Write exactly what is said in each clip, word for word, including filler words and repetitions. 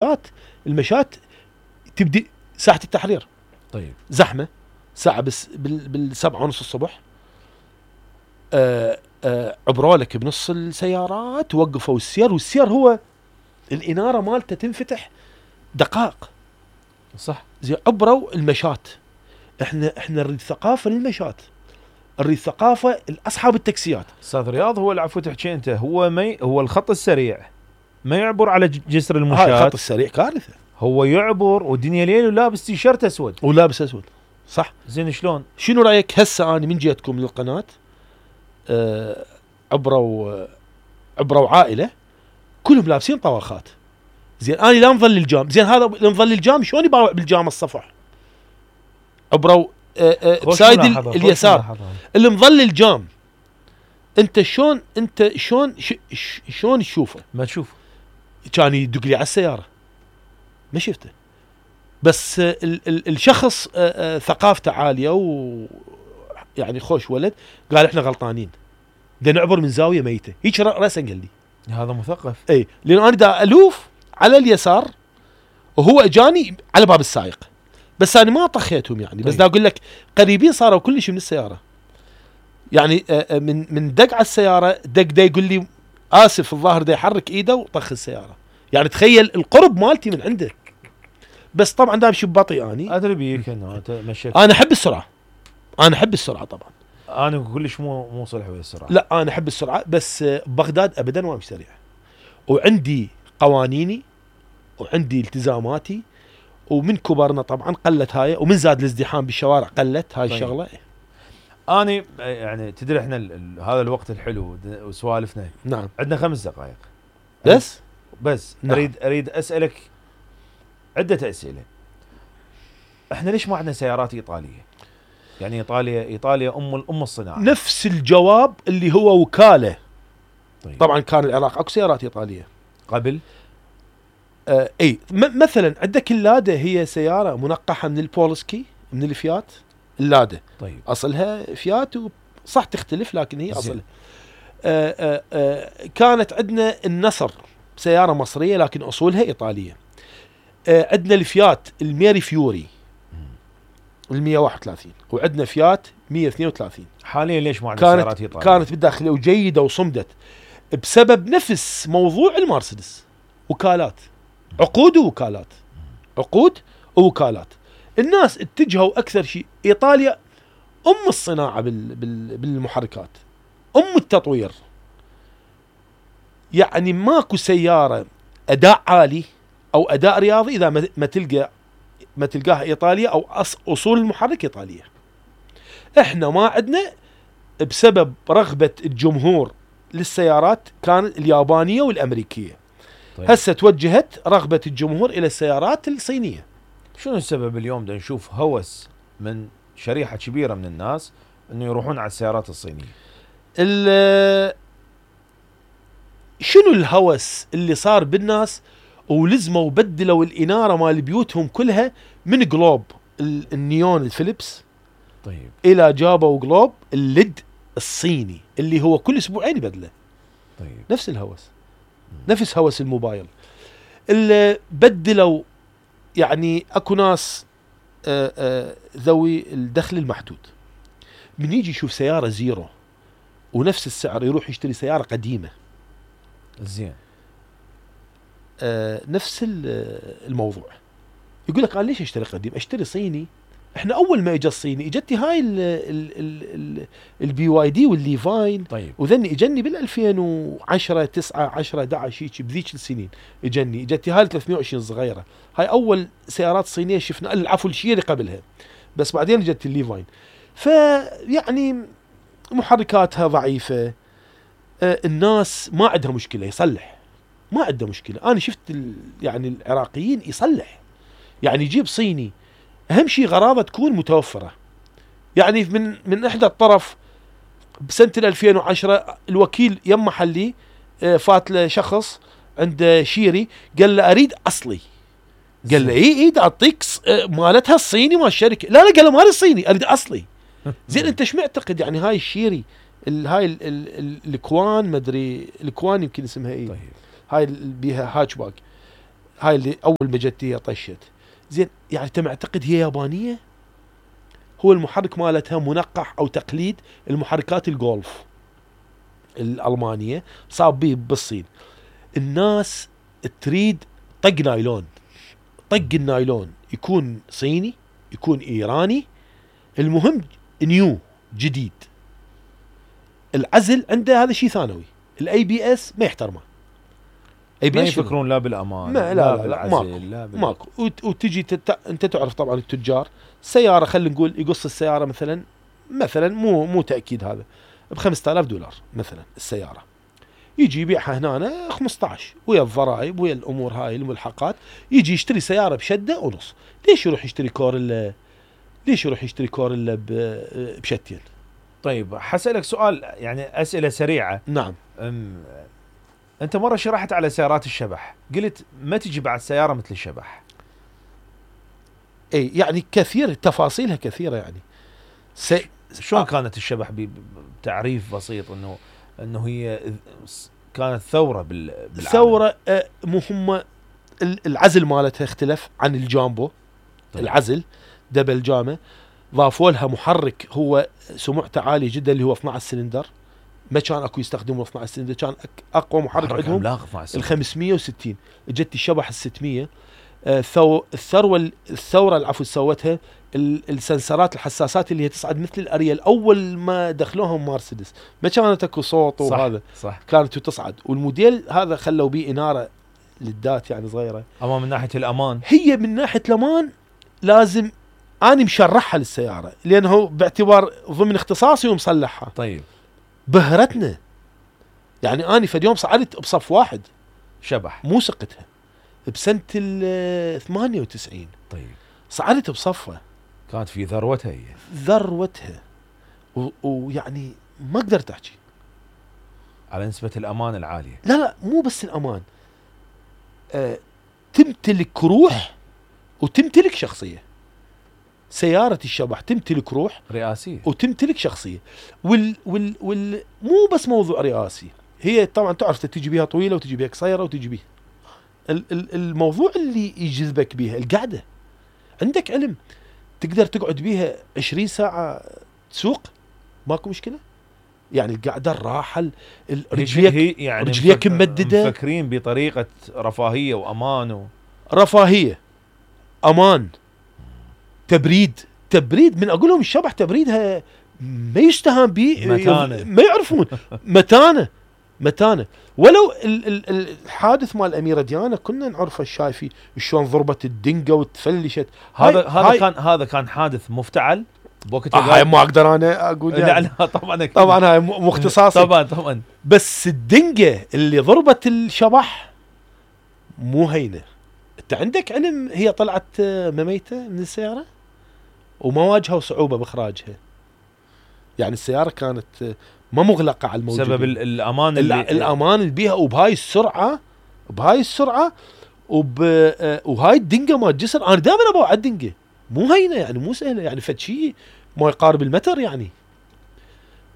المشات المشات تبدي ساحة التحرير طيب زحمة ساعة بس بال بالسبعة ونص الصبح. آه آه عبروا لك بنص السيارات وقفوا السير، والسير هو الإنارة مالته تنفتح دقائق صح. زي عبروا المشات. احنا احنا نريد ثقافة للمشات، نريد ثقافة لاصحاب التاكسيات. استاذ رياض هو العفو تحكي انت، هو ما هو الخط السريع ما يعبر على جسر المشاة. هاي الخط السريع كارثة. هو يعبر والدنيا ليل ولابس تيشيرت اسود ولابس اسود صح. زين شلون؟ شنو رايك هسه انا من جيتكم للقناة آه عبروا عبروا عائلة كلهم لابسين طواخات. زين انا لا نظل الجام، زين هذا نظل الجام شلون يباوع بالجام الصفح؟ عبروا آه آه بسايد اليسار اللي مظل الجام. انت شلون انت شلون شلون تشوفه؟ ما تشوف كان يدق لي على السيارة ما شفته، بس آه ال ال الشخص آه آه ثقافته عالية ويعني خوش ولد قال احنا غلطانين دا نعبر من زاوية ميتة هيك رأسا قال لي هذا مثقف. اي لان انا دا الوف على اليسار وهو اجاني على باب السائق، بس انا ما طخيتهم يعني. بس دا اقول لك قريبين صاروا كلش من السيارة يعني آه من من دق على السيارة دق دا يقول لي اسف الظاهر دا يحرك ايده وطخ السيارة. يعني تخيل القرب مالتي من عندك. بس طبعا دا امشي ببطيء اني ادري بيك انه انت مشيت. انا احب السرعة، انا احب السرعة طبعا. انا كلش مو مو صلح ويا السرعة. لا انا احب السرعة بس بغداد ابدا ما امشي سريع، وعندي قوانيني وعندي التزاماتي، ومن كبرنا طبعا قلت هاي، ومن زاد الازدحام بالشوارع قلت هاي. طيب. الشغلة اني يعني تدري احنا هذا الوقت الحلو وسوالفنا. نعم عندنا خمس دقائق بس بس نعم. اريد اريد اسالك عدة اسئلة. احنا ليش ما عندنا سيارات ايطالية؟ يعني ايطاليا ايطاليا ام الام الصناعة. نفس الجواب اللي هو وكالة. طيب. طبعا كان العراق اكو سيارات ايطالية قبل. آه اي مثلا عندك اللادا هي سيارة منقحة من البولسكي من الفيات اللادا. طيب. اصلها فيات صح تختلف لكن هي اصلها. آه آه آه كانت عندنا النصر سيارة مصرية لكن اصولها ايطالية. آه عندنا الفيات الميري فيوري المية واحد وثلاثين، وعندنا فيات مية واثنين وثلاثين. حاليا ليش ما عندنا سيارات ايطالية؟ كانت بالداخلية وجيدة وصمدت بسبب نفس موضوع المرسيدس، وكالات عقود ووكالات عقود ووكالات. الناس اتجهوا اكثر شيء ايطاليا ام الصناعة بال بال بالمحركات، ام التطوير. يعني ماكو سيارة اداء عالي او اداء رياضي اذا ما تلقى ما تلقاها ايطاليا او اصول المحرك ايطالية. احنا ما عندنا بسبب رغبة الجمهور للسيارات كان اليابانية والامريكية. طيب. هسه توجهت رغبة الجمهور الى السيارات الصينية. شنو السبب اليوم دا نشوف هوس من شريحة كبيرة من الناس انه يروحون على السيارات الصينية؟ شنو الهوس اللي صار بالناس ولزموا وبدلوا الإنارة مال بيوتهم كلها من جلوب النيون الفيليبس. طيب. الى جابوا جلوب الليد الصيني اللي هو كل اسبوعين يبدله. طيب. نفس الهوس م. نفس هوس الموبايل اللي بدلوا. يعني اكو ناس آآ آآ ذوي الدخل المحدود من يجي يشوف سيارة زيرو ونفس السعر يروح يشتري سيارة قديمة. زين. آه نفس الموضوع. يقول لك انا ليش اشتري قديم؟ اشتري صيني. احنا اول ما اجى الصيني اجتني هاي البي واي دي والليفاين. طيب. وذني اجني بال ألفين وعشرة تسعة عشرة أحد عشر هيك بذيك السنين اجني اجتني هاي ثلاثمية وعشرين صغيره. هاي اول سيارات صينيه شفنا. العفو الشيري قبلها بس بعدين اجت الليفاين. فيعني محركاتها ضعيفه. آه الناس ما عندها مشكله يصلح، ما عنده مشكله. انا شفت يعني العراقيين يصلح، يعني يجيب صيني اهم شيء غراضه تكون متوفره. يعني من من احدى الطرف بسنه ألفين وعشرة الوكيل يم محلي فات له شخص عند شيري قال له اريد اصلي. قال له اي اي اعطيك مالتها الصيني مال الشركه. لا لا قال له مال الصيني اريد اصلي. زين انت ايش معتقد يعني هاي الشيري هاي الكوان ما ادري الكوان يمكن اسمها ايه. طيب. هاي بيها هاتشباك هاي اللي اول ما جت هي طشت. زين يعني انت معتقد هي يابانيه؟ هو المحرك مالتها منقح او تقليد المحركات الجولف الالمانيه، صاب به بالصين. الناس تريد طق نايلون، طق النايلون يكون صيني يكون ايراني، المهم نيو جديد. العزل عنده هذا شيء ثانوي، الاي بي اس ما يحترمه. اي بي ما اس شنو؟ يفكرون لا بالامان ما لا لا لا لا بالعزل ماكو لا بال... ماكو وت- وتجي تت... انت تعرف طبعا التجار سياره، خلينا نقول يقص السياره مثلا مثلا مو مو تاكيد هذا ب خمسة آلاف دولار مثلا السياره، يجي يبيعها هنا خمسة عشر ويا الضرائب ويا الامور هاي الملحقات، يجي يشتري سياره بشده ونص. ليش يروح يشتري كوريلا؟ ليش يروح يشتري كوريلا ب- بشتين؟ طيب حسألك سؤال يعني اسئله سريعه. نعم. أم... انت مره شرحت على سيارات الشبح، قلت ما تجي بعد سياره مثل الشبح. اي يعني كثير تفاصيلها كثيره يعني. سي... شلون كانت الشبح ب- بتعريف بسيط انه انه هي كانت ثوره بال بالعالم. ثوره آه، مهمه. ال- العزل مالتها اختلف عن الجامبو. طيب. العزل دبل جامه، ضافوا لها محرك هو سمعته عالي جدا اللي هو اثني عشر سلندر. ما كان اكو يستخدمون اثني عشر سلندر، كان أك- اقوى محرك محرك عندهم عملاق اثني عشر ال خمسمية وستين. اجت الشبح ال ستمية. آه، ثو الثروه الثوره العفو سوتها ال- السنسرات الحساسات اللي هي تصعد مثل الاريال. اول ما دخلوهم مرسيدس ما كانت اكو صوت صح وهذا، صح. كانت تصعد. والموديل هذا خلوا بيه اناره للدات يعني صغيره. اما من ناحيه الامان هي من ناحيه الامان لازم اني مشرحها للسياره لانه باعتبار ضمن اختصاصي ومصلحها. طيب بهرتنا يعني اني فد يوم صعدت بصف واحد شبح. مو سقتها بسنه ال ثمانية وتسعين، طيب صعدت بصفها كانت في ذروتها هي. ذروتها و- ويعني ما قدرت احكي على نسبه الامان العاليه. لا لا مو بس الامان، أه تمتلك روح وتمتلك شخصيه. سياره الشبح تمتلك روح رئاسيه. وتمتلك شخصيه. وال وال وال مو بس موضوع رئاسي، هي طبعا تعرف تجي بيها طويله وتجي بيها قصيره وتجي بيها ال- ال- الموضوع اللي يجذبك بيها القعده. عندك علم تقدر تقعد بيها عشرين ساعه تسوق ماكو مشكله، يعني القعده الراحه ال- ال- رجليك هي يعني رجليك مفك- ممدده، مفكرين بطريقه رفاهيه وامان و... رفاهيه، امان، تبريد. تبريد من اقول لهم الشبح تبريدها ما يستهان به، متانة. ما يعرفون. متانه متانه. ولو ال- ال- الحادث مال الاميره ديانا كنا نعرفه الشايفي شلون ضربت الدنقه وتفلشت. هذا هاي هذا هاي كان هذا كان حادث مفتعل بوقت آه هاي ما اقدر انا اقول لا يعني. لا طبعا أكيد. طبعا هاي مو مو اختصاصي. طبعا طبعا. بس الدنقه اللي ضربت الشبح مو هينه. انت عندك علم هي طلعت آه، مميته من السياره وما واجهوا صعوبه باخراجها، يعني السياره كانت آه، ما مغلقه على الموجودين. سبب ال- الامان ال- اللي الامان اللي بيها وبهاي السرعه بهاي السرعه وب آه، وهاي الدنقه مال الجسر. انا دائما ابغى على الدنقه مو هينه يعني مو سهله يعني فد شيء ما يقارب المتر يعني،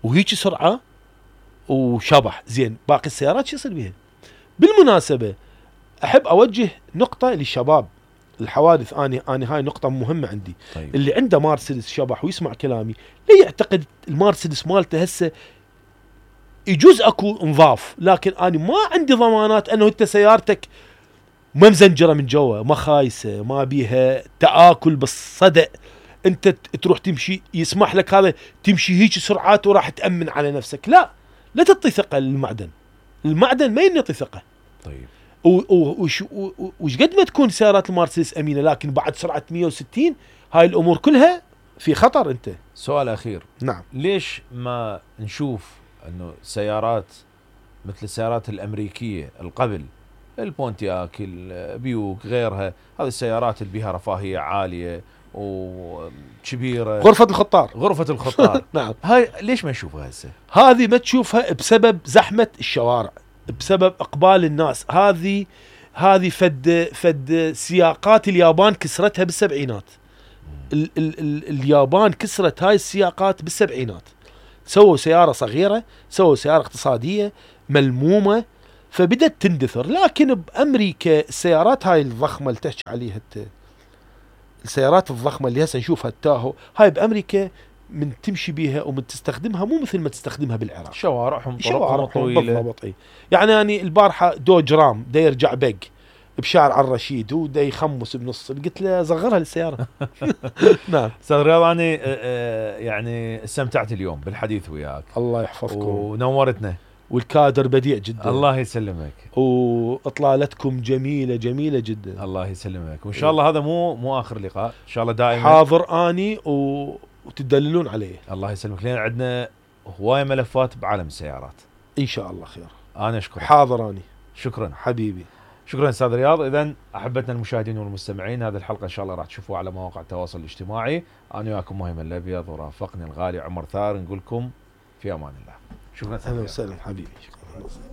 وهيك سرعه وشبح. زين باقي السيارات شو يصير بيها؟ بالمناسبه احب اوجه نقطه للشباب الحوادث. اني اني هاي نقطه مهمه عندي. طيب. اللي عنده مرسيدس شبح ويسمع كلامي لا يعتقد المرسيدس مالته هسه يجوز اكو انظاف، لكن انا ما عندي ضمانات انه انت سيارتك ما مزنجره من جوا، ما خايسه، ما بيها تآكل بالصدأ. انت ت- تروح تمشي يسمح لك هذا تمشي هيك سرعات وراح تأمن على نفسك. لا لا تعطي ثقه للمعدن. المعدن ما ينطي ثقه. طيب. و- و- وش و- وش قد ما تكون سيارات المرسيدس امينه، لكن بعد سرعه مية وستين هاي الامور كلها في خطر. انت سؤال اخير، نعم ليش ما نشوف انه سيارات مثل السيارات الامريكيه القبل، البونتياك، البيوك، غيرها، هذه السيارات اللي بها رفاهيه عاليه وكبيره، غرفه الخطار. غرفه الخطار نعم هاي ليش ما نشوفها هسه؟ هذه ما تشوفها بسبب زحمه الشوارع، بسبب اقبال الناس. هذه هذه فد فد سياقات اليابان كسرتها بالسبعينات. ال ال ال اليابان كسرت هاي السياقات بالسبعينات. سووا سياره صغيره، سووا سياره اقتصاديه ملمومه، فبدت تندثر. لكن بامريكا السيارات هاي الضخمه اللي تحكي عليها انت، السيارات الضخمه اللي هسه نشوفها التاهو، هاي بامريكا من تمشي بيها ومن تستخدمها مو مثل ما تستخدمها بالعراق. شوارعهم شوارعهم طويله بالضبط. اي يعني اني البارحه دوج رام دا يرجع بق بشارع الرشيد ودا يخمس بنص، قلت له صغرها للسياره. نعم استاذ رياض، انا يعني استمتعت اليوم بالحديث وياك، الله يحفظكم ونورتنا، والكادر بديع جدا. الله يسلمك، واطلالتكم جميله جميله جدا. الله يسلمك، وان شاء الله هذا مو مو اخر لقاء، ان شاء الله دائما حاضر اني و... وتدللون عليه. الله يسلمك، لان عندنا هوايه ملفات بعالم السيارات. ان شاء الله خير. انا اشكرك. حاضر اني. شكرا حبيبي. شكرا استاذ رياض. اذا احبتنا المشاهدين والمستمعين، هذه الحلقه ان شاء الله راح تشوفوها على مواقع التواصل الاجتماعي. انا وياكم مهم الابيض، ورافقني الغالي عمر ثار، نقول لكم في امان الله. شكرا. اهلا وسهلا حبيبي. شكرا.